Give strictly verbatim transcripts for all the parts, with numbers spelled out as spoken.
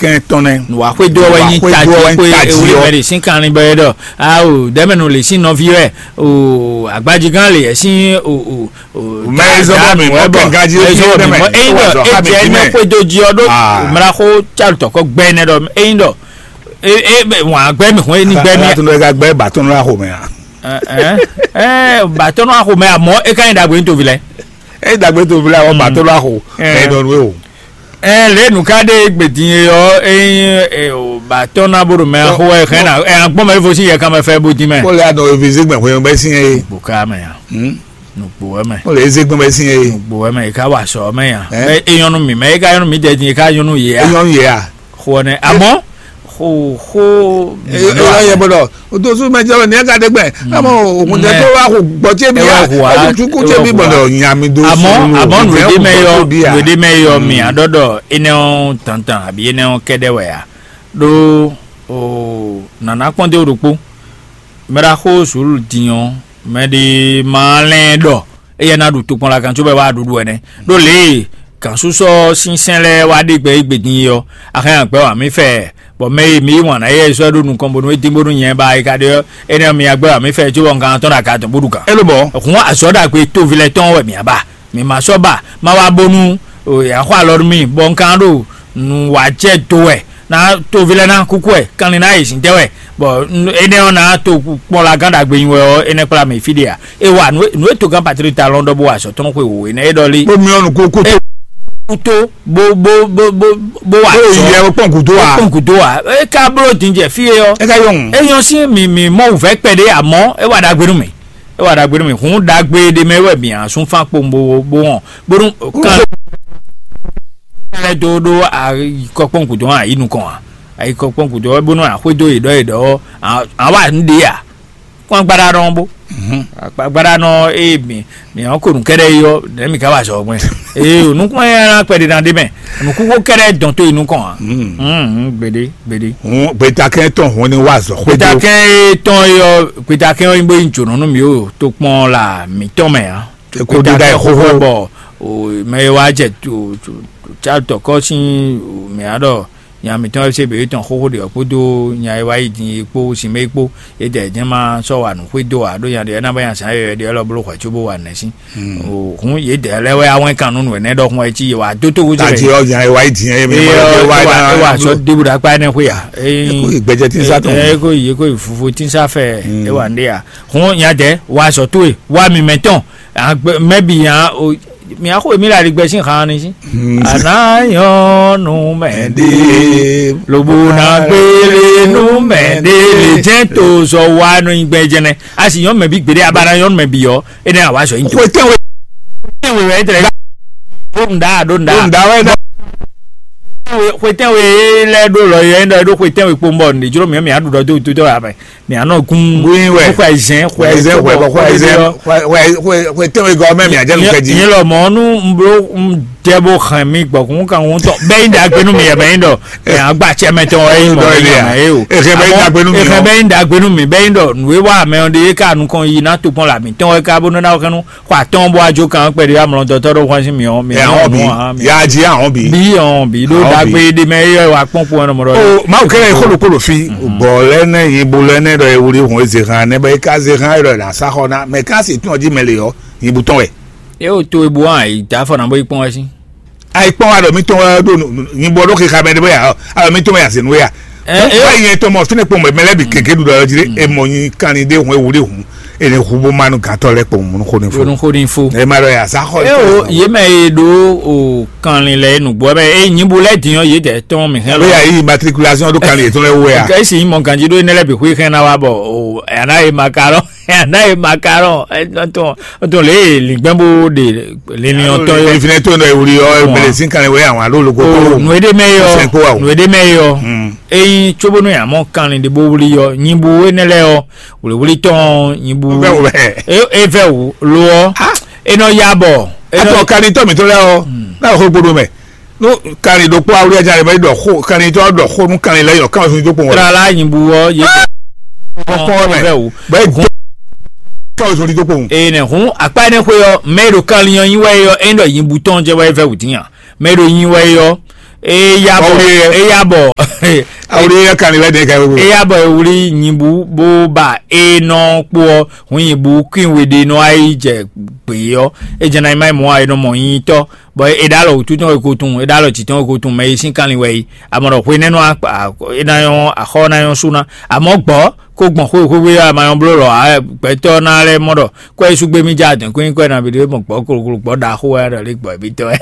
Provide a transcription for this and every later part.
kɛn tɔn nɛ. Nǔwá xwedó wɛ nyi tají xwe ewúrẹ́ mɛ ɖe sín kanlin bɔ é ɖɔ. Ao dɛmɛnu lè sín nɔví wɛ. O agbajigán lè yɛ sín o o o. Mɛ e zɔ́n bɔ mi mɔ kɛn gají ó ti dɛmɛ. Eyin dɔ e jɛ ne xwedo jí ɔ ɖó mra xó tsarutɔ kɔ gbɛ nɛ ɖɔ eyin dɔ e e wàn gbɛ mi xɔn e ní gbɛ mi. Alatun dɔ ka gbɛ batɔn lɔ axo mɛ a. Ɛ ɛ batɔn lɔ axo mɛ a mɔ e ka nyi dagbe ní tovi lɛ. E dagbe tovi lɛ awɔ batɔn lɔ axo mɛ dɔn nue o. Ɛ lě nǔ ká ɖe gbedin e ɔ́, ényí batɔ́ ná bó ɖo mɛ xó wɛ xɛn ná ɛ agbɔn mɛ fo sín yɛ kanmɛ fɛ bó dín mɛ. Kó lè anɔ evize gbɛn xwé bɛ sín é. Bó ká mɛ ya. Nukpo wɛ mɛ. Kó lè eze gbɛn bɛ sín é. Nukpo wɛ mɛ, e ká wa sɔ mɛ ya. Ɛ? Mɛ e nyɔnu mi, mɛ e ká nyɔnu mi jɛ din, e ká nyɔnu yě ya. E nyɔnu yě ya. Xó nɛ, amɔ xó xó. E e yɔ yɛ bɔ dɔ. O to su mɛ jɛ wɛ ní ɛka ɖe gbɛ. Amɔ òkun tɛ tó wá kó gbɔ tse bi ya. Ɛ wá kó wá. Ɛkú tsu kú tse bi bɔ dɔ nyami do. Àmọ́ àmọ́ nùdé mɛ yɔ nùdé mɛ yɔ mi àdɔdɔ enɛ ɔ tantan àbí enɛ ɔ kɛdɛ wɛ ya. Ɖó o nana kpɔn dé ɖokpó. Mɛ ɖa xó sùúrù din ɔ, mɛ ɖi ma lɛn ɖɔ eya ná ɖu tokpɔn la kan cóbɔ wá ɖuɖu ɛnɛ. Ɖó lě e gǎnsúsɔ sínsɛ́n lɛ́ɛ wá ɖe gbɛ égbé din é ɔ́, axɛ́n agbɛ́ wa mì fɛ, bɔ mɛ e mi yí wǎn ná yɛ sɔ́ ɖó nukɔn bónú é dín bónú nyɛ ba é ka ɖe ɔ́, énɛ́ ɔ́ mi agbɛ́ wa mì fɛ cóbɔ un ka tɔ́n ɖo aga tɔn bó ɖu gǎn. É ló mɔ̌. Hǔn azɔ̌ ɖagbe toví lɛ́ɛ tɔn wɛ mǐ ba. Mǐ ma sɔ́ ba, ma wá bónú yǎ xɔ alɔ nú mì, bɔ un ka ɖo nǔ wá jɛ do wɛ, ná toví lɛ́ɛ ná kúkú wɛ, kanlin ná yi zǐndɛ́ wɛ, bɔ énɛ́ ɔ́ ná to kpɔ́n la gán ɖagbe nyi wɛ ɔ́, énɛ́ kplá mì fí ɖé ǎ. É wa nǔ e togán Patrík ta lɔn ɖɔ bó wa azɔ̌ tɔn xwe wǒ énɛ́ é ɖɔ lé. Bó myɔ́ nǔ kókó tó. Kútó bó bó bó bó bó wa azɔ̌. Bó yɛ kpɔn gǔdo wa. Kpɔn gǔdo wa. É ka bló din jɛ fí é ɔ́. É ka yɔn. É nyɔ́ sín mǐ mǐ mɔ wǔvɛ́ kpɛɖé, àmọ́ é wa ɖagbe nú mì. É wa ɖagbe nú mì. Hǔn ɖagbe ɖé mɛ wɛ mǐ asún fán kpowun bó bó wɔn bónú kan lɛ́ dó ɖó ayikɔkpɔ́n gǔdo ǎ, yǐ nukɔn ǎ. Ayikɔkpɔ́n gǔdo ɔ́ bónú axwédó yě ɖɔ yě ɖɔ ɔ́, ǎ wá nǔ ɖe ǎ. Kpɔ́n agbáɖánɔ bó. Agbáɖánɔ ée mǐ mǐ ɔ́ ko nǔ kɛ́ɖɛ́ yi ɔ́, nɛ̌ mǐ ka wa azɔ̌ gbɛn? Ee, nukún ɛ ná kpɛɖé ná ɖe mɛ. Nǔkúnxó kɛ́ɖɛ́ dɔn tó yi nukɔn ǎ. Gbeɖé gbeɖé. Hǔn gbetakɛn tɔn hǔn ní wa azɔ̌ xwedó. Gbetakɛn e tɔn e ɔ́, gbetakɛn ɔ́ nyí bó nyí jǒnɔ nú mǐ o tokpɔn la mǐtɔn mɛ ǎ. Eko ɖíɖá yi xóxó. Bɔ mɛ e wá jɛ tɔkɔ sín mǐ á ɖɔ nya mǐtɔn e se běbí tɔn xóxó ɖe ɔ́ kpódó nya e wá yi din é kpó sin mɛ é kpó, é dɛ jɛ́n ma sɔ́ wa nǔ xwedó ǎ ɖó nya ɖě ɔ́ ná bá nya zǎn yɔyɔ̌ ɖé ɔ́ lɔ bló hwɛ̌ cóbó wa nɛ̌ sín. Hǔn yě dɛ lɛ́ɛ wɛ awɛn kan nú nǔ ɛnɛ́ ɖɔhun wɛ cí yě wá dó tó wúzú. Tají ɔ́ nya e wá yi din é mi é wá ná wá sɔ́ débu ɖo akpá ɛnɛ́ xwé a? Eko yi gbɛjɛ tí ń sá tɔn. Eko yi eko yi fufu tí ń sá fɛ é wà ndé a? Hǔn nya dɛ wá sɔ́ tó e wá mi mɛ tɔn. Mɛ bǐ nya o mǐ axó mǐ le aligbɛ sín han ni sí. Àná nyɔ́ nú mɛ ɖé, lobo ná gbélé nú mɛ ɖé lè jẹ́ tó sɔ wá nú gbɛ jɛnɛ. A sì nyɔ́ mɛ bí gbéɖé, a ba ná nyɔ́ nú mɛ bǐ ɔ́, é nɛ́ àwa sɔ yín tó. Xwe tɛ́nwe tɛ́nwe wɛ é tɛlɛ. Ɖó nǔɖá ɖó nǔɖá. Ɖó nǔɖá wɛ dá. Xwe tɛ́nwe lɛ́ ɖó lɔ yɛ é ɖɔ é ɖó xwe tɛ́nwe kpowun bɔ nǔɖé jló mǐ mǐ á ɖu ɖɔ dó tó tɔ́ amɛ. Mǐ á nɔ gún Gún wɛ. Xwe zɛn xwe Xwe zɛn xwe xwe zɛn xwe xwe xwe tɛnwe gɔ mɛ mǐ á jɛ nu kɛ jí. Nyɛ lɔ mɔ nú un bló un jɛ bó hɛn mi gbɔkun kan ŋutɔ bɛɛ yi ɖagbe nú mi yɛ mɛ yi ɖɔ mɛ agba cɛ mɛ tɔn wɛ yi mɔ Dɔ mi ilé yɛ a. Mɛ yi o. Ehe bɛ yi ɖagbe nú mi Ehe o. Bɛ yi ɖagbe nú mi bɛ yi ɖɔ nǔ e wa mɛ ɔ́ ɖe é ka nukɔn yi ná tokpɔn la mǐtɔn wɛ ká bó nɔ́ ná xɛnu xɔ atɔn bó ajo kan kpɛɖé amlɔ dɔtɔ ɖo hwan sín mi ɔ mi Ɛ àwọn bi. Yájí àwọn bi. Bí ɔn bí ɖó Àwọn bi. Dagbe ɖe mɛ yɛ wa kpɔn kpɔn ɛnɔ mɔ ɖɔ. O mawu kɛlɛ yi kolo kolo fi bɔ lɛ nɛ yi bo lɛ nɛ ɖɔ ewuli hun eze han nɛ bɛ yi ka ze han yɔrɔ la sa xɔ na mɛ ka se tún ɔdí mɛ le yɔ yi bu tɔn wɛ. E o to ebo hàn yi da fɔ na bɔ yi kpɔn wɛ sí. Ayi kpɔn wa ɖɔ mi tɔn wɛ ɖo nyi bɔ ɖo keka mɛ ɖe bɛ ya alɔ mi tɔn wɛ ya se nu ya. Ɛ, ɛ, Wa yi yɛn tɔn mɔ fi ne kpɔn mɛ lɛ bi keke ɖu ɖɔ yɔ dzi ɖe e mɔ nyi kan ni ɖe hun ewuli hun e ne hu bo ma nu gantɔ lɛ kpɔn mun xo ne fo. Ronú xó ní fó. E ma ɖɔ ya sa xɔ. E o yé mɛ e ɖo o kanlin lɛ nùgbɔ mɛ e nyibu lɛ dinyɔ yé dɛ tɔn mi hɛn Bɛ lɔ. Ya yi matriculation ɖo kan ni yetɔn lɛ wo ya. Kɛ esi mɔ ganji ɖo ne lɛ bi hui hɛn na wa bɔ o yana ye makarɔn yana ye makarɔn tɔn tɔn le lingbɛn bo de linlin tɔn yɔ. Ìfìnnɛ tó ń dọ̀ ìwúrí ọ bẹ̀rẹ̀ sí kan ìwé àwọn àlọ́ olùkọ́ tó. Nù èdè mẹ́ yọ. Sẹ́ńkó wa o. Nù èdè mẹ́ yọ. Eyin tsobonu yà mɔ kanlin de bo wuli yɔ nyibu enɛ lɛ yɔ wòlíwòlí tɔn nyibu. Bẹ́ẹ̀ o bẹ́ẹ̀. E e fẹ́ wò lo ɔ. Enɔ ya bɔ. Atɔ kani tɔ mi to lɛ ɔ. N'a yɔ ko gbodo mɛ. N'o kani ɖokpó awuli ɛja rɛ bɛ ɖɔ xo kani tɔ ɖɔ xo nu kani lɛ yɔ kama sunjú kpɔn wɛ. Trala nyibu ɔ ye. Kɔkɔ mɛ. Fẹ́ wò. Bɛ gbɔ. Kama sunjú kpɔn. Eye nɛ hun akpa ne xwe yɔ mɛ ɖo kanlin yɔ nyi wɛ yɔ e ɖɔ nyibu tɔn jɛ wɛ fɛ wò tinya mɛ ɖo nyi wɛ yɔ. Eya bɔ. Eya bɔ. Awuli yɛ kan ni lɛ de ka wo. Eya bɔ ewuli nyibu bó ba e nɔ kpó ɔ, hun nyibu kwin we ɖe nɔ ayi jɛ gbé ɔ, e jɛ na yi ma yi mɔ ayi nɔ mɔ nyi tɔ, bɔ e ɖa lɔ wútu tɔn e ko tun, e ɖa lɔ tsi tɔn e ko tun mɛ yi sín kanlin wɛ yi. Amɔ ɖɔ xwe nɛnu akpa, e na nyɔ axɔ na nyɔ sú ná. Amɔ gbɔ kó gbɔn xwe xwe xwe a ma nyɔ bló lɔ, gbɛtɔ na lɛ mɔ ɖɔ kɔ yi sú gbé mi ja dɛn kó nyi kɔ na bi ɖe mɔ gbɔ kolokolo gbɔ ɖaxó wɛ ɖɔ lé gbɔ bi tɔ wɛ.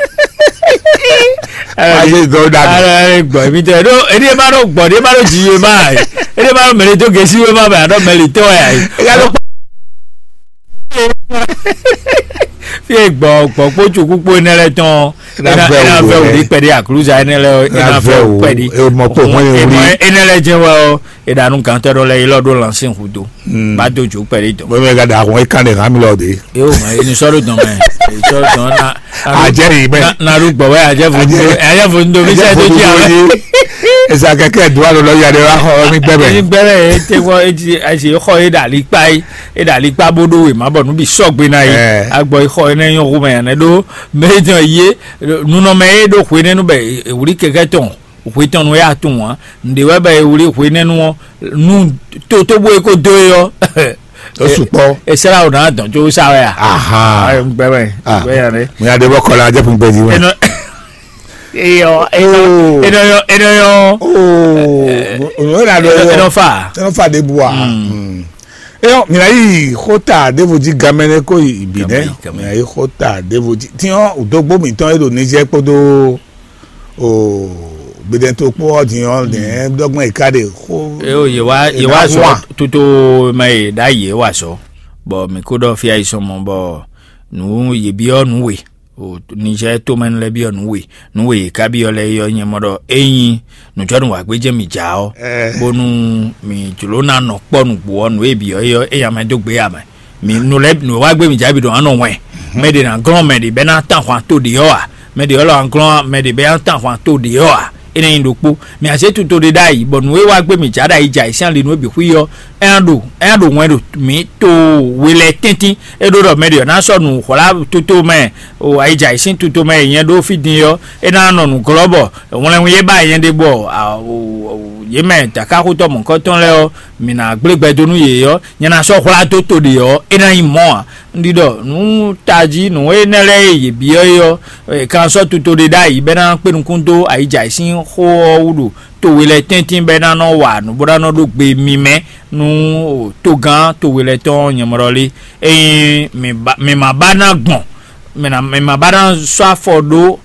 Ayi dɔ da. Alɔ lé gbɔ bi tɔ wɛ. Ɖo edi ma ɖo gbɔ ɖe ma ɖo dzi yue ma ayi. Edi ma ɖo mɛlɛ to gesi yue ma bɛ aɖɔ mɛlɛ tɔ wɛ ayi. Eya ɖo fi e gbɔ gbɔ kpó tsuku kpó enɛ lɛ tɔn. Ena vɛ wò ɖi kpɛɖi akluza enɛ lɛ ena vɛ wò kpɛɖi. Emɔ kpó hɔn ye wuli. Enɛ lɛ jɛ wɛ o. Eɖanu gantɔ ɖɔ lɛ ilɔ ɖo lansin hudo. Ba do jo kpɛɖi dɔn. Bɔn mi ka da ahun e kan de hàn mi lɔ de. Eyo ma eni sɔ ɖo dɔn mɛ. Eni sɔ ɖo dɔn na. Ajɛ yi mɛ. Na ɖo gbɔ wɛ ajɛ fo ndo ajɛ fo ndo mi sɛ do dzi awɛ. Esa kɛkɛ do alo lɔ ya de wa xɔ mi gbɛ mɛ. Eni gbɛ mɛ ete wɔ eti asi xɔ e ɖa ali kpa yi. E ɖo alikpa bó ɖó wěma bɔ nǔ bǐ sɔgbe ná yi. Agbɔ yi xɔ énɛ́ nyɔ́ xomɛ ǎ nɛ́ ɖó mɛ e jɛ́n yé nunɔmɛ e ɖó hwenɛ́nu bɔ è wlí kɛkɛ́ tɔn hwe tɔn nú é atún ǎ. Nǔɖé wɛ bɔ è wlí hwenɛ́nu ɔ́ nú tótóbó e ko dó é ɔ́. Ó sukpɔ́. È sɛ́ ɖo ná dɔn có sá wɛ a? Aha. Gbɛ mɛ. Gbɛ yà nɛ. Mo yà ɖe bɔ kɔlá jẹ́ fún gbẹ̀dì wọn. Eyɔ, eyɔ, eyɔ, eyɔ. Oh, òun yóò nà lọ Eyɔ, eyɔ fa. Eyɔ fa de bu a. Eyɔ, mina yi xota devo ji gamɛnɛ ko yi bi nɛ. Mina yi xota devo ji tiɲɔ udogbo mitɔn e ɖo Niger kpódó o gbedɛntokpó ɔ́ din ɔ́ nɛ dɔgbɔn yi ka ɖe xó. Eyo, yewa yewa sɔ tuto mɛ yi ɖa yewa sɔ. Bɔ mi ko ɖɔ fia yi sɔmɔ bɔ nǔ yebiɔ nǔ we. O Niger tomɛnu lɛ́ɛ byɔ́ nǔ we, nǔ we yě ka byɔ́ lɛ́ɛ é ɔ́ nyɛ mɔ ɖɔ ényí nǔjɔnǔ wǎ gbé jɛ́n mǐ ja ɔ́, bónú mǐ jló ná nɔ kpɔ́ nǔgbó ɔ́, nǔ e byɔ́ é ɔ́, é nya mɛ dó gbé ǎ mɛ. Mǐ nǔ lɛ́ɛ nǔ e wá gbé mǐ ja bǐ ɖo ná nɔ wɛn. Mɛ ɖě ná glɔ́n mɛ ɖě bɛ́ ná tán ahwan to ɖě ɔ́ ǎ. Mɛ ɖě ɔ́ lɔ ná glɔ́n mɛ ɖě bɛ́ ná tán ahwan to ɖě ɔ́ ǎ. Énɛ́ nyí ɖokpó. Mǐ a zě tuto ɖé ɖ'ayǐ, bɔ nǔ e wá gbé mǐ ja ɖ'ayǐ jɛ ayǐ sín ali nǔ e bǐ xwí ɔ́, é ná ɖo é ná ɖo wɛn ɖo mǐ to we lɛ́ɛ tɛ́ntin. É ɖó ɖɔ mɛ ɖě ɔ́ ná sɔ́ nǔ hwlá toto mɛ, o ayǐ jɛ ayǐ sín toto mɛ e nyɛ ɖó fí din ɔ́, é ná nɔ nǔ glɔ́ bɔ wlɛnwun e ba nyɛ ɖe bɔ yě mɛ dǎkáxotɔ́ mɔ̌hunkɔtɔn lɛ́ɛ ɔ́, mǐ ná gblé gbɛ dó nú yě ɔ́, nyɛ ná sɔ́ hwlá dó to ɖě ɔ́, é ná nyí mɔ̌ ǎ. Un ɖi ɖɔ nǔ tají nǔ énɛ́ lɛ́ɛ e yě byɔ́ é ɔ́, è ka sɔ́ toto ɖé ɖ'ayǐ bɔ é ná kpé nukún dó ayǐ jɛ ayǐ sín xó ɔ́ wú ɖo to we lɛ́ɛ tɛ́ntin bɔ é ná nɔ wa nǔ bó ná nɔ ɖó gbe mimɛ nú togán to we lɛ́ɛ tɔn nyɔ̌mlɔ́ lé. Ényí mi ma ba ná gbɔn, mi ma ba ná sɔ́ afɔ ɖó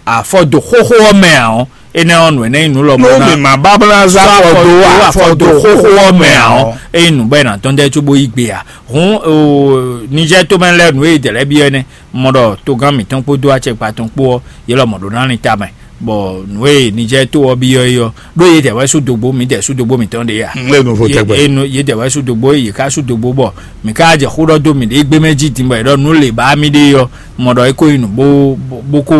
afɔ dó xóxó ɔ́ mɛ ǎ ɔ́, énɛ́ ɔ́ nǔ énɛ́ nyí nǔ lɔmɔ̌ ná mi ma ba ná sɔ́ afɔ dó afɔ dó xóxó ɔ́ mɛ ǎ ɔ́, ényí nǔ bɔ è nǎ tɔ́n dɛ́ cóbó yí gbe ǎ. Hǔn Nizɛ́ɛ tomɛ lɛ́ɛ nǔ e è dɛ lɛ́ɛ byɔ́ énɛ́. Un mɔ ɖɔ togán mǐtɔn kpódó acɛkpa tɔn kpó ɔ́, yě lɔmɔ̌ ɖó ná lin tamɛ, bɔ nǔ e Nizɛ́ɛ to ɔ́ byɔ́ é ɔ́, ɖó yědɛɛ wɛ sú dogbo, mǐdɛɛ sú dogbo mǐtɔn ɖe ǎ. Un lé nu vo tɛgbɛ. Yě- yě nu- Yědɛɛ wɛ sú dogbo, yě ká sú dogbo, bɔ mǐ ká jɛ xó ɖɔ dó mǐɖée gbé mɛ jí din, bɔ è ɖɔ nǔ lě ba mì ɖe ɔ́, un mɔ ɖɔ é ko nyí nǔ bó bó- bó ko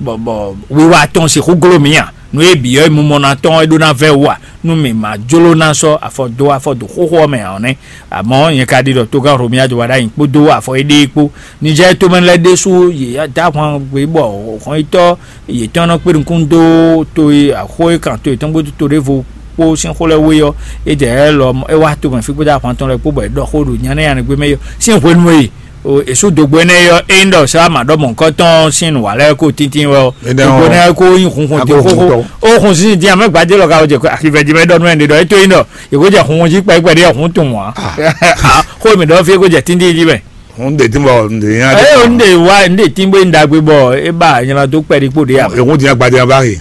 bɔ bɔ wiwa tɔn sixú gló mǐ a? Nǔ e bǐ ɔ́, mumɔ ná tɔn é ɖó ná vɛ́ wú a? Nú mǐ ma jló ná sɔ́ afɔ dó afɔ dó xóxó ɔ́ mɛ ǎ ɔ́ nɛ́. Amɔ̌ nyɛ ka ɖi ɖɔ togán Hlomia jɔ wá ɖ'ayǐ kpódó afɔ éɖée kpó. Nizɛ́ɛ tomɛ lɛ́ɛ ɖésú yě dó ahwan gbé bɔ hɔnyitɔ́ yětɔn nɔ kpé nukún dó to e axó e kan to yětɔn gbé to ɖěvo kpó sín xó lɛ́ɛ wé ɔ́, é jɛ lɔ é wá tomɛ fí kpódó ahwan tɔn lɛ́ɛ kpó bɔ é ɖɔ xó ɖo nya nɛ́ nya nɛ́ gbé mɛ é ɔ́ sín hwenu e o èsú dogbo énɛ́ é ɔ́, é nyí ɖɔ Salama ɖɔ mɔ̌hunkɔtɔn sín nǔ wa lɛ́ɛ kó tíntín wɛ ɔ́. Énɛ́ dogbo ɔ́, énɛ́ kó nyí hunhun dín akó hun xóxó tɔn. Ó hun sín dín amɛ gbadé lɔ ka wɔ jɛ axivɛ jí mɛ ɖɔ nú ɛnɛ ɖɔ é tó nyí ɖɔ yě kó jɛ hunhun jí kpɛɖé kpɛɖé ɔ́ hun tunwun ǎ. Xó mi ɖɔ fí é kó jɛ tíntín jí mɛ. Hun de tí bɔ un de nya. Eye o un de wa un de tí bó un dagbe bɔ é ba nyla dó kpɛɖé kpó ɖé amɛ. Ehun dín agbadé ɔ́ bá he.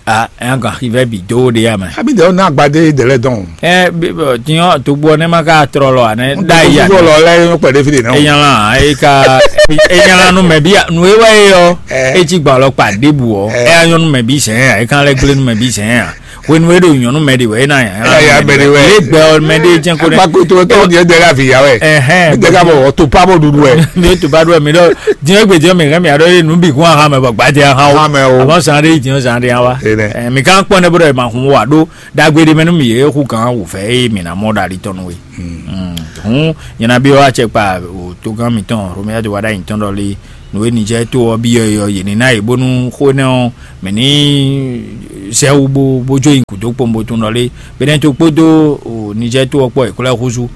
A ɛ gan xivɛ bǐ dó ɖé amɛ. Abi de ɔ́ ná agbadé de lɛ dɔn. Ɛ bí bɔ tiɲɔ togbo ɔ́ nɛ ma ka trɔ lɔ anɛ. Da yi anɛ. Lɔ lɛ yɔ kpɛɖé fi de nɛ. Enyala e ka enyala nu mɛ bi nu e wɛ ye yɔ. Ɛ. Etsi gba lɔ kpa ɖebu ɔ. Ɛ. Ɛ anyɔ nu mɛ bi sɛn ya e kan lɛ gble nu mɛ bi sɛn ya. Hwenu e ɖo nyɔnu mɛ ɖe wɛ e na nya. Ɛ ya mɛ ɖe wɛ. Ye gbɛ ɔ mɛ ɖe jɛn ko ɖe. Akpakoto tɔ ni e de la vi ya wɛ. Ɛhɛn. Mi de ka bɔ to pa bɔ ɖuɖu wɛ. Mi to pa ɖu mi ɖɔ. Diɛ gbe diɛ mi hɛn mi aɖɔ ye nu bi kun aha mɛ bɔ gbadze aha o. Aha mɛ o. Amɔ zan ɖe yi diɛ zan ɖe awa. Ene. Ɛ mi kan kpɔn ne bo ɖɔ ma hun wa ɖo dagbe ɖe mɛ nu mi ye hu kan wu fɛ eye mi na mɔ ɖali tɔnu we. Hun nyina bi wa cɛ kpa o to gan mi tɔn Romia de wa ɖa yin tɔn ɖɔ li. nǔ e Nijɛ́ɛ to ɔ́ byɔ́ é ɔ́, yě ní ná yě bónú xó énɛ́ ɔ́, mǐ ní zɛ wú bó bó jó nyi gǔdo kpowun bó tunwun ɖɔ lé. Benɛ́ɛ to kpódó Nijɛ́ɛ to ɔ́ kpó yě ko lɛ́ húzú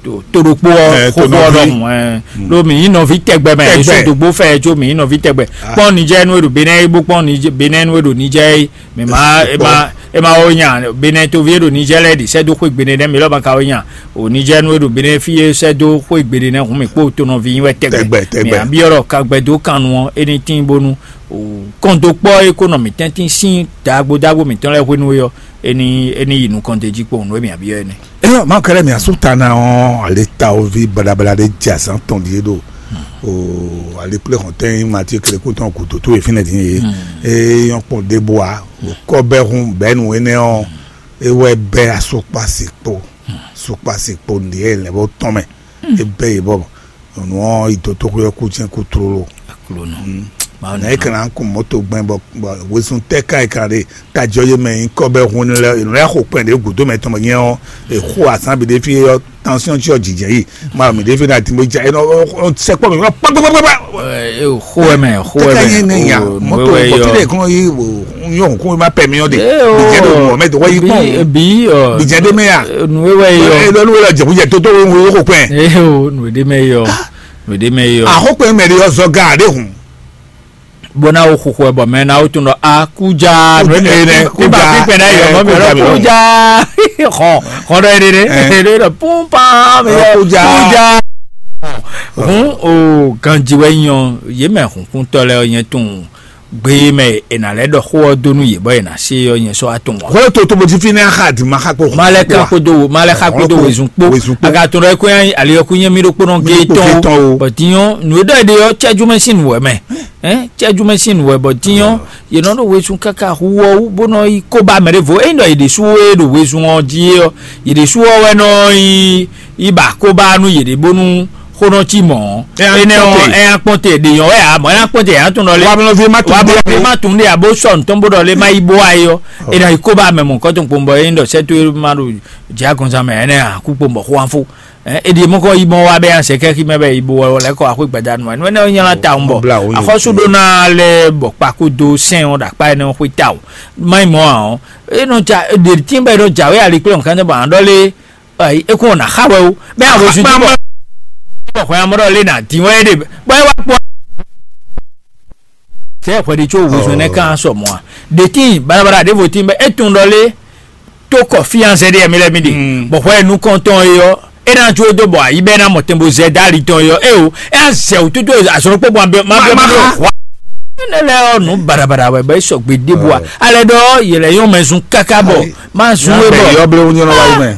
to ɖokpó ɔ́ xóxó ɔ́ ɖɔhun. Ɖó mǐ nyí nɔví tɛgbɛ mɛ, yě sɔ́ dǒgbó fɛ ɛ có mǐ nyí nɔví tɛgbɛ. Kpɔ́n Nijɛ́ɛ nú e ɖo Benɛ́ɛ é bó kpɔ́n Benɛ́ɛ nú e ɖo Nijɛ́ɛ é, mǐ ma é ma é ma wó nya Benɛ́ɛ toví e ɖo Nijɛ́ɛ lɛ́ɛ ɖi sɛ́ dó xwé gbeɖé nɛ́, mǐ lɔ́ ma ka wó nya o Nijɛ́ɛ nú e ɖo Benɛ́ɛ fí é sɛ́ dó xwé gbeɖé nɛ́ hǔn mǐ kpó tonɔví nyí wɛ tɛgbɛ. Mǐ byɔ́ ɖɔ kagbɛ dó kannu ɔ́ é ní tín bónú kɔn dó kpɔ́ é kó nɔ mǐtɛn tín sín dǎgbó dǎgbó mǐtɔn lɛ́ɛ hwenu é ɔ́, é ní é ní yi nukɔn d'é jí kpowun nú e mǐ byɔ́ é nɛ́. Eyɔ, ma kɛlɛ mi asu ta na ɔn, ale ta ovi balabala de dza zan tɔn die do. O ale kple hɔntɛn ma ti kele ko tɔn ku toto e finɛ din ye. E yɔn kpɔn de bo a, o kɔ bɛ hun bɛ nu ene ɔn, e wɛ bɛ asokpa si kpo, sokpa si kpo ndiɛ lɛ bo tɔn mɛ. E bɛ ye bɔ. Nyɔnu ɔ́ yi dotoxwé ɔ́ kú jɛ́n kú tlóló. Aklúnɔ. Mawu Nɛ é nɔ kan ná kun mɔ̌to gbɛn bɔ bɔ wezun tɛ́ ká é kan ɖe tajɔ yé mɛ nyí kɔ́bɛ́ hun lɛ nǔ lɛ́ xo kpɛn ɖě gǔdo mɛ tɔn bɔ nyɛ ɔ́, è xo azǎn bǐ ɖé fí ɔ́, tánsyɔ́n cyɔ jǐjɛ yí. Ma mǐ ɖé fí ná dín bó jɛ é nɔ sɛkpɔ mǐ kpákpákpákpá. Ɛ, xó wɛ mɛ, xó wɛ tɛ́ ká mɛ. Nyɛ nɛ nya O, mɔ̌to nǔ e bɔ yɔ. Tí ɖe kún yí wò nyɔ kún ma pɛ mí ɔ́ ɖe. Ɛ, o, Bìjẹ́ ɖo mɔ̌ mɛ dɔgɔ yí kpɔ́n. Bí, bí, ɔ, Bìjẹ́ ɖé mɛ ya. Nǔ e wɛ yɔ. Ɛ, lɔ nú wɛ lɔ jɛ kú jɛ tótó wé wé xo kpɛn. Ɛ, o, nǔ ɖé mɛ yɔ. Nǔ ɖé mɛ yɔ. Axɔkpɛn mɛ ɖe ɔ́ zɔ ga ɖé hun. Bó ná wo xuxu ɛ bɔ mɛ ná wo tún ɖɔ a kújá. Kújá, ɛ, nɛ, kújá, kújá, kújá, ɛ, ná yɔ mɔ mi kújá, ɖɔ kújá. Xɔ xɔ ɖɔ yɛ ɖe. Ɛ. Ɖe ɖɔ púpá mi Ɛ, yɔ kújá. Kújá. Hun o ganji wɛ nyɔ yé mɛ hunkúntɔ lɛ nyɛ tún gbe mɛ è nà lɛ ɖɔ xó ɔ dó nú yě bɔ è nà sé ɔ nyɛ sɔ atɔn wa. Hwɛ to to bó ti fi ne axa di ma xa kpo. Ma lɛ kan kpodo ma lɛ xa kpodo wezun kpo. Wezun kpo. Aga tɔn ɖɔ ko yan ali ɔ ko nyɛ mi ɖo kpɔnɔ ge tɔn o. Bɔ dinyɔ nu e ɖɔ e ɖe ɔ cɛju mɛ sin wɛ mɛ. Ɛn cɛju mɛ sin wɛ bɔ dinyɔ ye nɔ ɖo wezun kaka hu ɔ wú bó nɔ yi ko ba mɛ ɖe vo eyi nɔ yi ɖe su e ɖo wezun ɔ ji ɔ yi ɖe su ɔ wɛ nɔ yi yi ba ko ba nu yi ɖe bónú xó nɔ cí mɔ̌. Ɛ, énɛ́ ɔ́, akpɔ́nte. Ɛ akpɔ́nte ɖe nyɔ̌ wɛ ǎ, mɔ̌ é akpɔ́nte ǎ tún ɖɔ lé. Wa blɔ́ fi ma tún wá dé blɔ́ fi ma tún ɖe abo sɔ nǔtɔn bó ɖɔ lé má yi bó wá yi ɔ́. Ɔ. É ná yi kó bá mɛ mɔ̌ kɔ́tɔn kpowun bɔ é nyí ɖɔ sɛ́ tó é má ɖo jǐ agɔnzán mɛ ɛnɛ́ ǎ kú kpowun bɔ xó wá fó. Ɛ, é ɖi mɔ̌ kɔ yi mɔ wá bɛ́ nya sɛ kɛ́xí mɛ bɛ yi bo wɔ lɛ́ kɔ axwé gbadanu wɛ. Nú énɛ́ ɔ́ nyí lá tawun bɔ Bla wo nyi axɔ́sú ɖó ná lɛ́ bɔ kpakudo sɛn ɔ́ ɖo akpá énɛ́ ɔ́ xwé tawun. Má nyí mɔ̌ ǎ ɔ́, é nɔ ja ɖe tín bɔ é nɔ jǎwe ali kplé nǔkanjɔ bɔ ǎ ɖɔ lé. Ayi, é kún ná xa wɛ o. Bɛ a wezun ti bɔ. Bɔ xɔ amɔ ɖɔ lé na din wɛ ɖe. Bɔ é wá kpɔ. Sɛ xɔ ɖi tso wezun ne kan sɔ mɔ a. De tin balabala ɖevo tin bɛ e tun ɖɔ lé. To kɔ fiyanse ɖe mi lɛ mi ɖe. Bɔ xɔ nu kɔntɔn yɔ. E na jo do bɔ ayi bɛ na mɔ tɛnbo zɛ dali tɔn yɔ. E o. E a zɛ o tutu azɔn kpɔ bɔ ma bɛ ma ɖo. Ne lɛ ɔ nu barabara wɛ bɛ sɔgbe ɖebu a. Alɛ ɖɔ yɛlɛ yɔ mɛ zun kaka bɔ. Má zún wé bɔ. Yɔ ble wúnyɔ náà wáyé mɛ.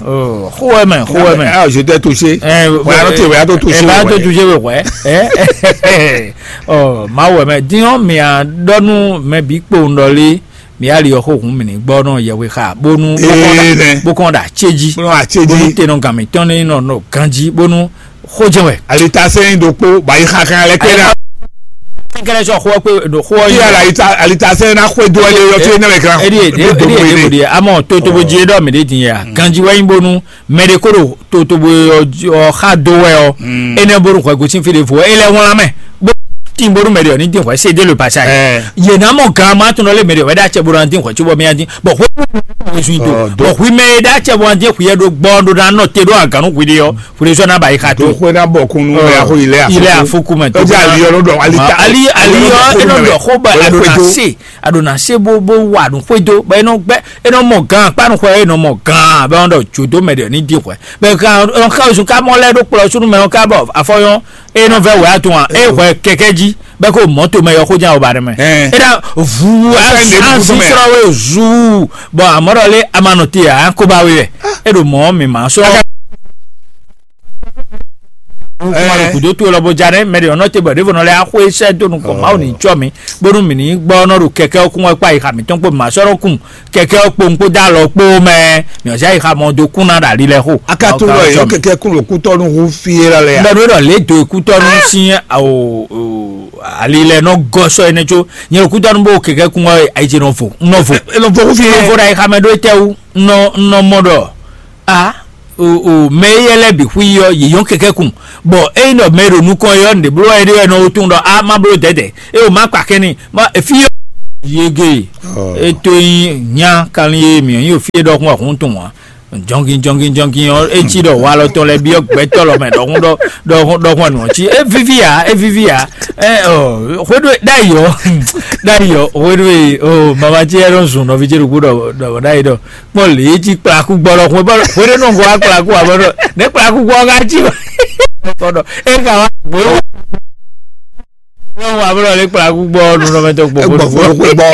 Xó wɛ mɛ, xó wɛ mɛ. Ah, je t'ai touché. Ɛ, Ouais, arɔ te wɛ ato touché. Ɛ bá tó touché wɛ wɛ. Ɛ, ɔ má wɛ mɛ. Diɲɔ mi a ɖɔ nú mɛ bí kpo ŋɖɔ lé. Mi ali ɔ xó hun mi ní gbɔ nɔ yɛwe xa bónú. Ee nɛ. Bó kɔn ɖa tséji. Bónú a tséji. Bónú tenɔ gami tɔn ní nɔ nɔ ganji bónú xó jɛ wɛ. Alitasɛn ɖokpó bayi xaxa lɛ kpé ɖa. Kɛlɛ sɔ xɔ kpé ɖo xɔ yi. Kí alita alitasɛn na xɔ do ɛlɛ yɔ tí ne bɛ kan. Edi edi edi edi edi amɔ totobo dzi ɖɔ mi ɖe din ya ganji wɛ yin bonu mɛ ɖe ko ɖo totobo ɔ xa do wɛ ɔ. Ene bonu xɔ gosin fi de fo ele wɔn lamɛ bo tin bonu mɛ ɖe ɔ ni din xɔ se de le pasa yi. Yena mɔ gan ma tun lɔ le mɛ ɖe ɔ wɛ da cɛ bonu an din xɔ tso bɔ mi an din bɔn xɔ mi zun do bɔn xɔ mi da cɛ bɔ an din xɔ yɛ do gbɔ do na nɔ te do aganu xɔ de ɔ. Fúnni sɔ náà bá yí xa tó. Tó xwé náà bọ̀ kún nú ẹ̀ àkó ilé àfúkú. Ilé àfúkú mẹ́ tó. Ó jẹ́ àlìyọ ló dọ̀ alita. Ali aliyɔ enɔ dɔ xó bɛ adona se adona se bó bó wà nù xwédo bɛ enɔ gbɛ enɔ mɔ gan kpanu xwɛ enɔ mɔ gan bɛ wọn dɔ jodo mɛ dɛ ní di xwɛ bɛ gan ɔn xa osun ká mɔ lɛ ɖó kplɔ sunu mɛ ɔn ká bɔ afɔyɔn enɔ vɛ wɛ atún wa e xwɛ kɛkɛ jí bɛ kó mɔto mɛ yɔ xó jan o ba dɛ mɛ. Ena vu azi srɔ we zu bɔn amɔdɔ lé amanɔ te a kó ba we wɛ e ɖo mɔ mi ma srɔ. Kuma ɖo kudo to lɔ bo dza ɖe mɛ ɖe ɔnɔ te bɔ ɖevo nɔ lɛ axɔ esɛ do nukɔ mawu ni tsɔ mi bónú mi ni gbɔ nɔ ɖo kɛkɛ ɔkun wɛ kpa yi xa mitɔn kpo ma sɔrɔ kun kɛkɛ ɔkpo ŋkpo da lɔ kpo mɛ mi ɔzɛ yi xa mɔ do kun na ɖe ali lɛ xo. Aka to lɔ yi kɛkɛ kun ɖo kutɔnu hu fie la lɛ ya. Bɛ ɖo ɖɔ le do kutɔnu si awo ali lɛ nɔ gɔsɔ ene tso nyɛ ɖo kutɔnu bo kɛkɛ kun wɛ ayi tse nɔ vo nɔ vo. Nɔ vo hu fie. Nɔ vo ɖe ayi xa mɛ ɖo etɛ wu nɔ nɔ mɔ ɖɔ a. o o mɛ éyɛ́ lɛ́ɛ bǐ xwí ɔ́, yě nyɔ́ kɛkɛ́ kun. Bɔ ényí ɖɔ mɛ e ɖo nukɔn é ɔ́, nǔɖé bló wɛ é ɖe wɛ nɔ wo tunwun ɖɔ a má bló dɛ̌dɛ̌, é o má kpa kɛ́n n'i, má efí ɔ́ yege. É tó nyí nya kanlin e mǐ nyí o fí e ɖɔkun wɛ hun tunwun ǎ. Jɔngin jɔngin jɔngin ɔ́, é cí ɖɔ walɔ tɔn lɛ́ɛ byɔ́ gbɛtɔ́ lɔ mɛ ɖɔhun ɖɔ ɖɔhun ɖɔhun ɔ́ nǔ ɔ́ cí é víví ǎ, é víví ǎ. Ɛ ɔ hweɖó ɖ'ayǐ ɔ́, ɖ'ayǐ ɔ́ hweɖó e o mama cí ɛ nɔ zun nɔví ce ɖokpó ɖɔ ɖɔ ɖ'ayǐ ɖɔ kpɔ́n lě é cí kplakú gbɔ lɔ hwe bɔ hweɖó nɔ wá kplakú ǎ bɔ ɖɔ nɛ̌ kplakú gbɔ ɔ́ ká cí wá kɔ ɖɔ é ka wá gbó. Wọ́n wà bọ́lọ̀ ní kpalaku gbọ́ ọdún lọ́mọdé gbogbo. Egbɔ̀foro kó gbọ́.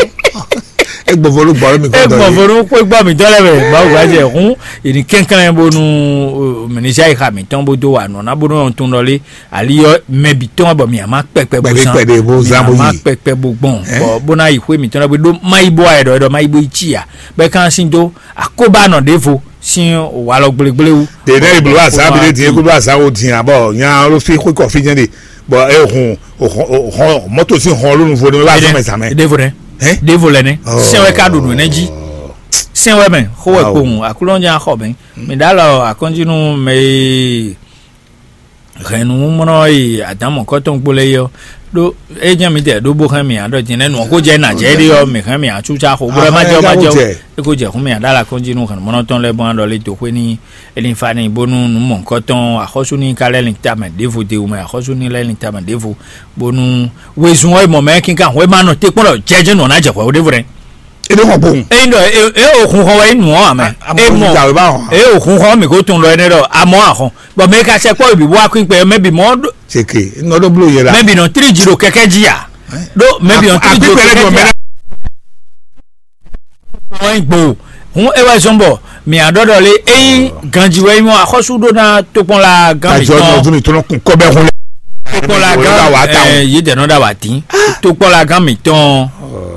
Egbɔ̀foro gbọ́ mi kọ́ dɔ. Egbɔ̀foro kó gbọ́ mi dɔ lɛ bɛ. Bawo gba jɛ hun. Ènì kɛnklɛn bonu mɛnisa yi xa mi tɔn bo do wa nɔ na bonu yɔn tun dɔ lé. Ali yɔ mɛ bi tɔn bɔ mi ama kpɛkpɛ bo zan. Kpɛkpɛ bo zan bo yi. Mi ama kpɛkpɛ bo gbɔn. Bɔ bona yi xwe mi tɔn lɛ bo do ma yi bo ayɛ dɔ dɔ ma yi bo yi tsi ya. Bɛ kan sin do akoba nɔ devo sin walɔ gblégblé wu. Ɖe nɛ iblo azan bi ɖe din eko do azan wo din abɔ nya alo fi xwe kɔ fi nyɛ de. Bɔ e hun o hɔn o hɔn mɔto sin hɔn lónu vo ne bá zɔn mɛ zan mɛ. Devo nɛ. Devo lɛ nɛ. Sɛn wɛ ka ɖo nǔ nɛ jí. Sɛn wɛ mɛ xó wɛ kpowun aklúnɔ nya xɔ mɛ. Mi ɖa lɔ akɔnjinu mɛ e hɛn nǔmɔnɔ yi adǎn mɔ̌kɔtɔn kpó lɛ́ɛ yɔ. Ɖó é jẹ́ mi tɛ ɖó bó hɛn mi aɖɔ jɛnɛ nǔ ko jɛ nà jɛ ɖe ɔ mi hɛn mi atsútsa xo bó lɛ má jɛ ɔ má jɛ ɔ. É ko jɛ hun mi aɖa la kɔnjinu hɛn mɔnɔ tɔn lɛ bɔn aɖɔ lé to xwé ní Elifani bónú nǔ mɔ̌hunkɔtɔn axɔ́sú ní ka lɛ́ lin tamɛ ɖěvo de wú mɛ axɔ́sú ní lɛ́ lin tamɛ ɖěvo bónú wezun ɔ́ e mɔ mɛ kínkan hwɛ ma nɔ te kpɔ́n ɖɔ jɛjɛ nɔ ná jɛ hwɛ wo ɖěvo ɖɛ. Ebe xɔ kpowun. Eyin ɖɔ e e o hun xɔ wɛ yi nu ɔ amɛ. E mɔ e o hun xɔ mi ko tun ɖɔ ɛnɛ ɖɔ amɔ ahɔn bɔn mɛ ka sɛ kpɔ bi bɔ akun kpɛ mɛ bi mɔ ɖo. Seke nɔ ɖo blo yɛ la. Mɛ bi nɔ tri ji ɖo kɛkɛ ji a. Ɖo mɛ bi nɔ tri ji ɖo kɛkɛ ji a. Wọ́n gbò hún é wá zɔn bɔ mì àɖɔ́ɖɔ lé ényí ganji wɛ nyɔ axɔ́sú ɖó ná tokpɔnla gán Tajɔ ní mìtɔn ọdún mi tó lọ kún kọ́ bẹ́ẹ̀ hún lẹ́. Tokpɔnla Wọ́n dá wàá ta gán wọn. Yìí dẹ̀ nɔ dá wà dín tokpɔnla gán mìtɔn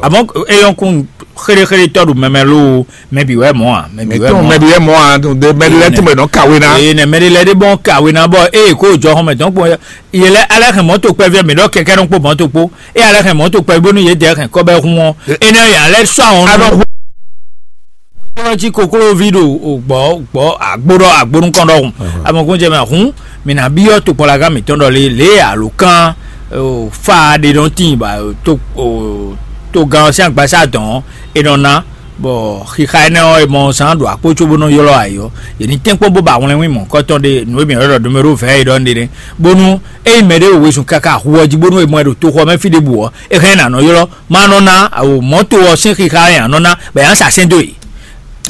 àmọ́ éyɔn kún xéréxéré tɔ́ ɖo mɛmɛ ló mɛbí wɛ mɔ̌ à mɛbí wɛ Mɛtɔn mɔ̌ mɛbi yɛ mɔ a dun de mɛdi lɛ tún bɛ nɔ kawe na. Eye nɛ mɛɖé lɛ ɖé bɔn kawe ná bɔ eye kó jɔ xɔmɛ tɔn kpɔn yɛ lɛ alɛ hɛn mɔto kpɛ fɛ mi ɖɔ kɛkɛ ɖɔn kpó mɔto kpó eye alɛ hɛn mɔto kpɛ bónú yé dɛ hɛn kɔbɛ hun ɔ ene yɛ alɛ sɔ àwọn Anɔ nu hu. Kɔlɔ jí koklovi ɖo gbɔ gbɔ agbo ɖɔ agbo nukɔn ɖɔ hun amɔkun jɛ mɛ hun mi na biɔ tokpɔlaga mi tɔn ɖɔ le le alo kan fa ɖe nɔ tin ba to to gan ɔsia gbasa dɔn e nɔ na bɔ xixa énɛ́ ɔ́, è mɔ zán ɖo akpó cóbó nɔ ylɔ́ ayǐ ɔ́, yě ní tɛ́nkpɔ́n bó ba wlɛ́nwín mɔ̌hunkɔtɔn ɖé nǔ e mǐ ylɔ́ ɖɔ numéro vɛ̌ é ɖɔ nɖé nɛ́, bónú ényí mɛɖé ɖo wezun káká hu ɔ́ jí bónú è mɔ ɛ ɖo toxo ɔ́ mɛ fí ɖěbǔ ɔ́, é hɛn ná nɔ ylɔ́, má nɔ ná mɔ̌to ɔ́ sín xixa e ǎ nɔ ná bɔ è nǎ sa sɛ́n dó e.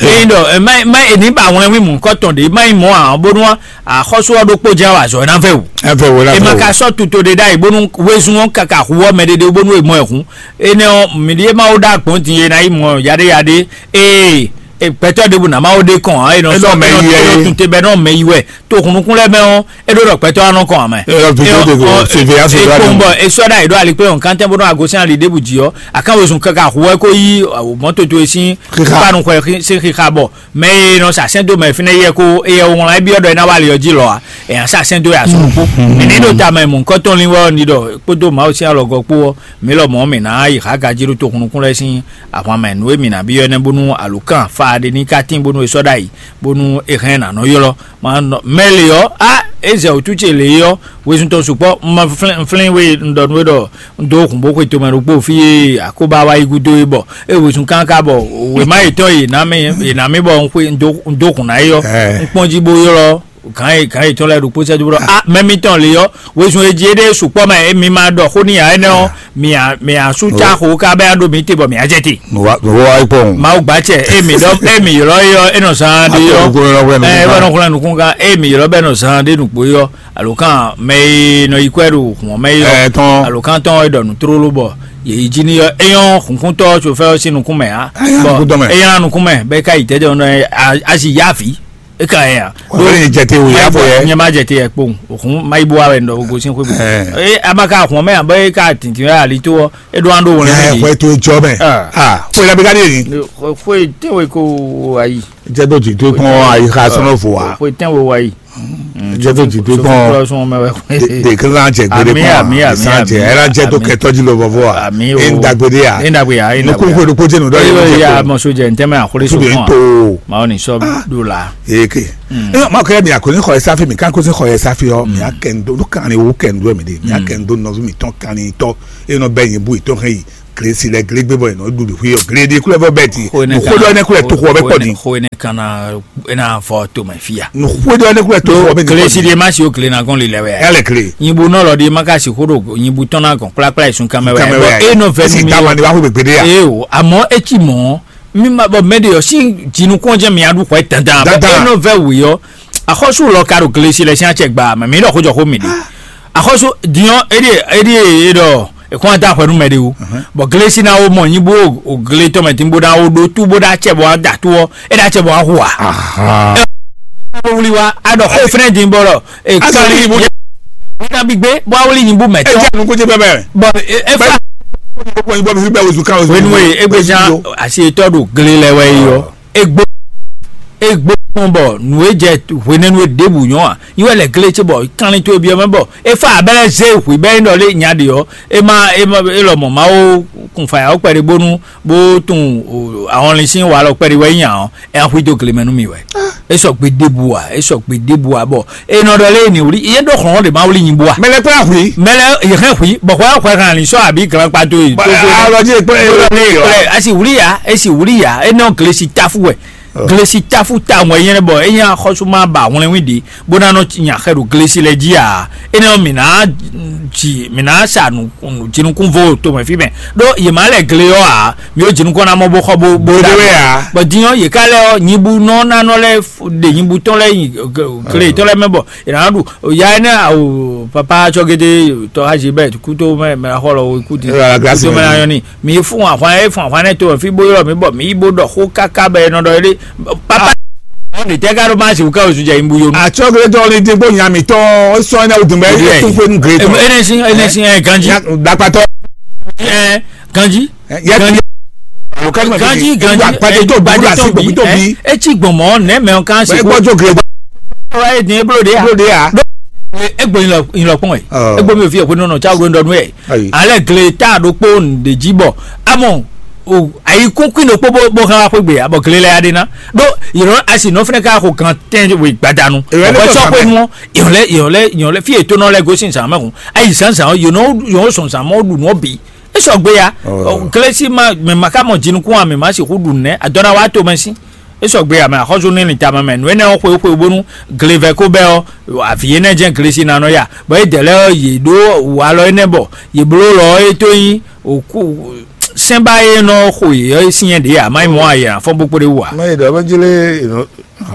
Ényí ɖɔ má má è ní ba wlɛ́nwín mɔ̌hunkɔtɔn ɖě má nyí mɔ̌ ǎ ɔ́, bónú axɔ́sú ɔ́ ɖokpó jɛ́n wá azɔ̌ ná vɛ wǔ. Ɛ vɛ wǒ ná È ma vɛ wǒ. Ka sɔ́ tuto ɖé ɖ'ayǐ bónú wezun ɔ́ káká hu ɔ́ mɛ ɖé ɖé bónú è mɔ ɛ hǔn. Énɛ́ ɔ́, mǐ ɖíe Mawu ɖó agbɔ̌n din e ná yi mɔ yaɖéyaɖé ee e gbɛtɔ́ ɖěbǔ ná Mawu ɖe kɔn ǎ, é nɔ É nɔ sɔ́ mɛ é nɔ yi wɛ é nɔ é. Tun te bɔ é nɔ mɛ yi wɛ. To hunnukún lɛ́ɛ mɛ ɔ́, é ɖó ɖɔ gbɛtɔ́ ɔ́ nɔ kɔn ǎ mɛ. É nɔ vi É tó ɔ́, de go, ɔ, Sevilla é Soda kpɔ́n nɔ. Bɔ é sɔ́ ɖ'ayǐ ɖó ali kpé ɔn kantɛn bó nɔ ago sín ali ɖěbǔ jí ɔ́, aká wezun káká hu wɛ kó yí mɔ̌toto e sín Xixa. Kpanu xwɛ xi- sín xixa bɔ mɛ e nɔ sa sɛ́n dó mɛ fínɛ́ yɛ kó éyɛ́ wlán é byɔ́ ɖɔ é ná wá ali ɔ́ jí lɔ ǎ, è nǎ sa sɛ́n dó ya sɔn kpó. Mǐ ní ɖo tamɛ mɔ̌hunkɔtɔn lin wɛ ɔ́ ní ɖɔ kpódó Mawu sín alɔgɔ́ kpó ɔ́, mǐ lɔmɔ̌ mǐ ná yi xá gají ɖó toxunnukún lɛ́ɛ sín ahwan mɛ nǔ e mǐ ná byɔ́ énɛ́ bónú alǒkan fa ɖé ní ka tín bónú è sɔ́ ɖ'ayǐ bónú è hɛn ná nɔ ylɔ́. Ma nɔ mɛ lě ɔ́, á é zɛ wǔtú ce lě é ɔ́, wezun tɔn sukpɔ́, un ma flɛ́n flɛ́n we un ɖɔ nú we ɖɔ un dó hǔn bó xwe tomɛ ɖokpó fí e akóbá wá yi gúdo é bɔ é wezun káká bɔ wěma yětɔn yě ná mì yě ná mì bɔ un xwe un dó un dó hǔn ná é ɔ́, Ɛ. Un kpɔ́n jí bó ylɔ́ gǎn e gǎn yětɔn lɛ́ɛ ɖokpó sɛ́dó ɖɔ a mɛ mitɔn lě ɔ́, wezun e jí é ɖe sukpɔ́ mɛ é mi ma ɖɔ xó n'i ǎ énɛ́ ɔ́, mi a mi a sú cá xo ká bɛ a ɖo mi te bɔ mi a jɛ te. Mo wá mo wá wá kpɔn. Mawu gbacɛ e mi ɖɔ e mi ylɔ yɔ e nɔ zan ɖe yɔ. Ɛ wɛ nɔ xlɛn nukun kan e mi ylɔ bɛ nɔ zan ɖe nukpo yɔ alo kan mɛ e nɔ yi kwɛ ɖo hɔn mɛ yɔ Ɛ tɔn. Alo kan tɔn e ɖɔ nu tlolo bɔ yeyi ji ni yɔ eyɔn hunkuntɔ tsofɛ ɔ si nukun mɛ ha. Eyɔn nukun tɔn mɛ. Eyɔn nukun mɛ bɛ ka yi tɛtɛ nɔ azi yavi e ka yɛ ya. Wọ́n fẹ́ẹ́ jẹ te wòye afọ yẹ. Nyɛ ma jẹ te yɛ kpɔn òkun ma yi bó wa wɛ nɔ gosin xwé bò. Ɛ. Ee a ma ka hɔn mɛ abɔ e ka tintin wɛ ali to ɔ e ɖo an ɖo wɔn Ɛ lɛ xɔ eto ejɔ mɛ. Ah. Ah fo yẹn bi ka di yẹn. Foyi tɛnwe ko ayi. Jẹ dɔ ti to kpɔn ayi xa sọnọ fo wa. Foyi tɛnwe wa yi. Jẹ́ tó jì dé gbọ́n. Sɔfúnlọ́sùn ọmọ ẹ̀ wẹ̀. De kan jɛ gbede Àmì, gbọ́n. Àmì, àmì, San jɛ àmì, ɛ la jɛ tó àmì. Kɛtɔ ji lɔ vɔvɔ a. Àmì o. E n dagbe de a. E n dagbe a, e n Nukun dagbe a. Ko ɖokpó jɛ nu dɔ Eyo ye ya jɛ. Mɔ sojɛ ntɛmɛ akɔle so Tube fún n wa. To. Ma o ni sɔ do la. Eke. Ɛ ma kɛ mi akɔni xɔ ɛsafi mi kan ko se xɔ ɛsafi ɔ mi akɛ n do nu kan ni wo kɛ n do mi de mi akɛ n do nɔzu mi tɔn kan ni tɔ e nɔ bɛ yin bu itɔn hɛn yi. Gilesi lɛ gile gbé bɔ yě nɔ ɖu ɖi xwé ɔ gile ɖi kúlẹ̀ fɔ bɛɛ ti. Xo énɛ́ Nǔ xó ɖɔ énɛ́ kúlẹ̀ tó xɔ bɛ kpɔ́ din. Xo énɛ́ kan ná ná fɔ tomɛ fia. Nǔ xó ɖɔ énɛ́ kúlẹ̀ tó xɔ bɛ din. Gilesi ɖe ma si o gile ná gɔn lilɛ wɛ. Yálẹ̀ gile. Nyibu nɔ lɔ ɖe ma ka si xó ɖo nyibu tɔn ná gɔn kplákplá yi sun kamɛ wɛ. Kamɛ Bɔ wɛ. E nɔ vɛ Esi nu mi dama ni wá xó gbègbè ɖe ya. E o, àmọ́ e ci mɔ̌, mi ma bɔ mɛ ɖe ɔ si jinukun jɛ mi aɖu xɔ dandan. Bɔ Dandan. E nɔ vɛ wě ɔ, axɔsu lɔ ka ɖo gilesi lɛ sin acɛ gba mɛ mi ɖɔ xó jɔ xó mi ɖe. Axɔsu diɔ eɖie eɖie e ɖɔ ekɔn da xwɛ nú mɛ ɖe o. Bɔ gilesi na wo mɔ nyi bo o gile tɔn mɛ tin bo na wo ɖo tu bo da cɛ bɔ da tu ɔ e da cɛ bɔ ahu a. Ahan. Wuli wa a ɖɔ xó fɛnɛ din bɔ ɖɔ e Asa kali wuli bo. Wuli na bi gbe bɔ awuli nyi bu mɛ E tɔ. Jẹ́ àánú kó jẹ́ bẹ́ẹ̀ bẹ́ẹ̀. Bɔ e e fa Bẹ́ẹ̀ ni bọ́ mi sí bẹ́ẹ̀ oṣù ká oṣù. Wenu e egbe jan asi etɔ ɖo gile lɛ wɛ yi ɔ. Egbo egbo kpɔn bɔ nǔ e jɛ hwenɛnu e ɖěbǔ nyɔ́ a? Nyi wɛ lɛ gle ce bɔ kanlin towe byɔ́ mɛ bɔ e fa abɛlɛ zé hwi bɛ nyí ɖɔ lé nya ɖe ɔ e ma e ma e lɔ mɔ Mawu kun fa ya kpɛɖe bónú bó tun ahɔnlin sín wa lɔ kpɛɖe wɛ nyí nya ɔ e axwi dó gle mɛ nú mi wɛ. E sɔ gbe ɖěbǔ a e sɔ gbe ɖěbǔ a bɔ e nɔ ɖɔ lé ni wuli e ɖó xlɔn ɖe ma wuli nyi bua. Mɛ lɛ kpɛ ahwi. Mɛ lɛ yɛ hɛn hwi bɔ hwɛ hwɛ hàn ní sɔ àbí glan kpa dó yi. Alɔdzi ekpɛ Kple asi wuli ya esi wuli ya e nɔ glesi tafu wɛ. Glesi tafu ta wɛ yɛn bɔ e nya xɔsuma ba wlɛnwi ɖe bó ná nɔ nya xɛ ɖo glesi lɛ jí a e nɔ mi ná ji mi ná sa nu jinukun vo to mɛ fi mɛ ɖo yema lɛ gle yɔ a mi o jinukun na mɔ bó xɔ bó bó Bó da dé wɛ a. Bɔ dinyɔ yeka lɛ ɔ nyibu nɔ nanɔ lɛ ɖe nyibu tɔn lɛ yi gle tɔn lɛ mɛ bɔ yena ɖu ya ene awo papa tsɔgede tɔ azi bɛ kuto mɛ mɛ xɔ lɔ wo kuti Ɛ, la grâce kuto mɛ mɛ. Ayɔ ni mi fún ahwan e fún ahwan ne to fi bo yɔ mi bɔ mi bo dɔ xó kaka bɛ nɔ dɔ ele papa ne tɛ ka ɖo ma si wuka osu jɛ imbu yo. Atsɔgede tɔ ni degbo nya mi tɔ sɔ ne o dun bɛ Yes. Etu pe nu gre tɔ. Enesi enesi ɛ ganji Dakpatɔ. Ɛ ganji Yɛ ganji. Ganji ganji Gbadé tó bí wúlò àti gbogbo tó bí. Etsi gbɔmɔ nɛ mɛ kan si Ẹ gbọ́dọ̀ gre. Wa ye din eblo de ya. Ló dé ya. Egbo yin lɔ yin lɔ kpɔn ye. Egbo mi fi ekwe nɔnɔ tsa wo ndɔ nu ye. Ayi. Ale gle ta ɖokpo ɖe dzi bɔ amɔ o ayikun kuin ɖokpo bó bó hã wá xwé gbe ya bɔ gle lɛ ya ɖe ná ɖo yìrɔ asi nɔ fɛnɛ ka xo gan tɛn we gbadanu. Ewɛ ne bɔ tɔ sɔ xwe kan mɔ yɔn lɛ yɔn lɛ yɔn lɛ fi eto nɔ lɛ gosi zan mɛ kun ayi zan zan yɔn nɔ yɔn sɔn zan mɔ ɖu nɔ bi. E sɔgbe ya. Glesi ma mɛ ma ka mɔ jinukun a mɛ ma sixu ɖu nɛ adɔna wa to mɛ si. E sɔgbe ya mɛ axɔzu ní lin tama mɛ nu énɛ́ ɔ́ xwe xwe bónú glevɛ ko bɛ ɔ́ avi énɛ́ jɛ́n glesi ná nɔ ya bɔ é dɛ̌ lɛ́ɛ ɔ́ yě ɖó walɔ énɛ́ bɔ yě bló lɔ ɔ́ é tó nyí òkú sɛ́nbá e nɔ xo yě ɔ́ sín nyɛ ɖě ǎ má nyí mɔ̌ a yě ná fɔ́n bó kpóɖé wú ǎ. Mɛ yi ɖɔ bɛ jlé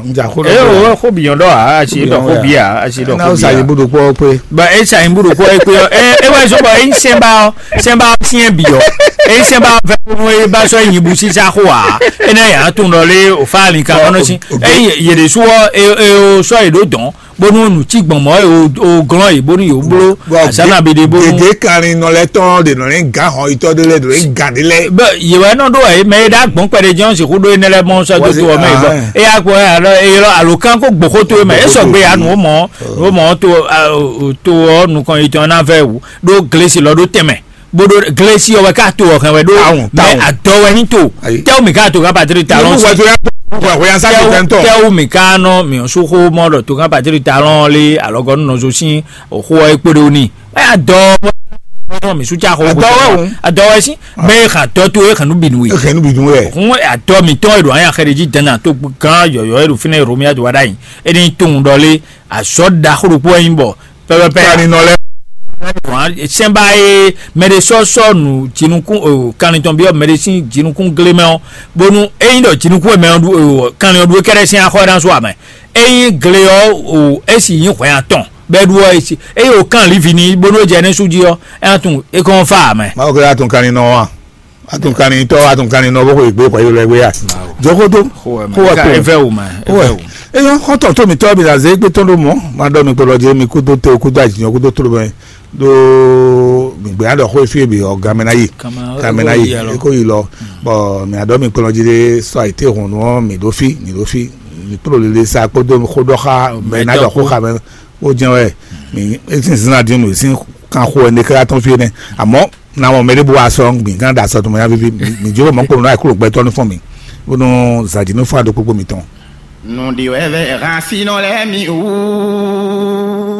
n ja xó ɖɔ. Eye wo xó bǐ nyɔ́ ɖɔ ǎ asi ɖɔ xó bǐ ǎ asi ɖɔ xó bǐ ǎ. Sa yi búɖo kpɔ́ pé. Ba e sa yi búɖo kpɔ́ pé ɔ́ ɛ é wɛ zɔ́n bɔ é nyí sɛ́nbá ɔ́ sɛ́nbá ɔ́ syɛ́n bǐ ɔ́ é nyí sɛ́nbá ɔ́ fɛ́ nú é ba sɔ́ nyi bú sísá xó ǎ. É ná yǎ tún ɖɔ lé o fá ali kan kɔnɔ sí. Eye yě ɖésú ɔ́ é é sɔ́ yě ɖó dɔ̌n bónú nǔ cí gbɔn mɔ̌ e o glɔ́n yě bónú yě bló azǎn nabí ɖé bónú. Gěgé kanlin nɔ lɛ́ tɔn ɖe nɔ ní gǎn hɔn yitɔ́ ɖé lɛ́ɛ ɖo ní gǎn ɖé lɛ́ɛ. Bɛ yě wɛ nɔ ɖó wɛ mɛ e ɖó agbɔ̌n kpɛɖé jɛ́n sixú ɖó énɛ́ lɛ́ɛ mɔ sɔ́ dó to ɔ́ mɛ bɔ é yá gbɔ alo alo kán kó gbǒxó to é mɛ é sɔgbe ya nǔ mɔ nǔ mɔ to to ɔ́ nukɔn yitɔn ná vɛ wǔ ɖó glesi lɔ ɖó tɛnmɛ bó ɖó glesi ɔ́ wɛ ká to ɔ́ hɛn wɛ ɖó mɛ adɔ wɛ ní to tɛwú mi ká to ká patiri talɔn si tɛwú mi ká nɔ mi ɔ́ sú xó mɔ ɖɔ to ká patiri talɔn lé alɔgɔnu nɔ zo sín òxó ɔ́ é kpóɖó ní. Ɛ adɔ wɛ mi sú tsa xɔ adɔ wɛ o adɔ wɛ sí mɛ e xan dɔ to e xan nu binu ye exɛ nu binu yɛ hun adɔ mi tɔn e ɖo anya xɛ ɖe jí dɛnɛ to gán yɔyɔ e ɖo fínɛ Romia do wa ɖa yi e ní tun ɖɔ lé azɔ da xo ɖokpo ɛ nyí bɔ pɛpɛpɛ kani nɔ lɛ sɛnba ye mɛ ɖe sɔ sɔ nu jinukun o kanlin tɔn bi ɔ mɛ ɖe sín jinukun gle mɛ ɔ bonu e nyí ɖɔ jinukun mɛ ɔ ɖu o kanlin ɔ ɖu e kɛɖɛ sín axɔ ɖan so amɛ e nyí gle ɔ o e si nyí hwɛ atɔn bɛ ɖu ɔ esi eye o kan livi ni bonu e jɛ ne su ji ɔ e atun e kɔn fa amɛ. Mawu kele atun kanlin nɔ wa atun kanlin tɔ atun kanlin nɔ bó ko egbe kɔ yelo egbe ya jɔkoto ko wa ko efɛ wo ma efɛ wo. Eyɔ xɔtɔ tó mi tɔ bi la ze egbe tɔn do mɔ ma dɔ mi kpɔlɔ je mi kudo te kudo ajinyɔ kudo tó mɛ do mi gbe adɔ xo efi bi ɔ gamɛ na yi gamɛ na yi eko yi lɔ bɔn mi adɔ mi kpɔlɔ je de sɔ ayi te hɔn nɔ mi do fi mi do fi mi kpɔlɔ lele sa kpodo xo dɔ xa mɛ na dɔ xo xa mɛ. Ó jẹ́ wɛ mi, esi zina di nu esi kan xo ɛnɛ kɛra tɔn fie nɛ. Àmọ́ na mɔ mɛ ɖé bó wa sɔ gbìn gán da sɔ tó mɔ ya vivi mi jó mɔ kó nɔ ayikúrò gbɛtɔ ní fún mi. Bónú zàdí ní fún àdó gbogbo mi tɔn. Nǔɖiwɛ́vɛ́ hán sínú lɛ́ɛ mi wú.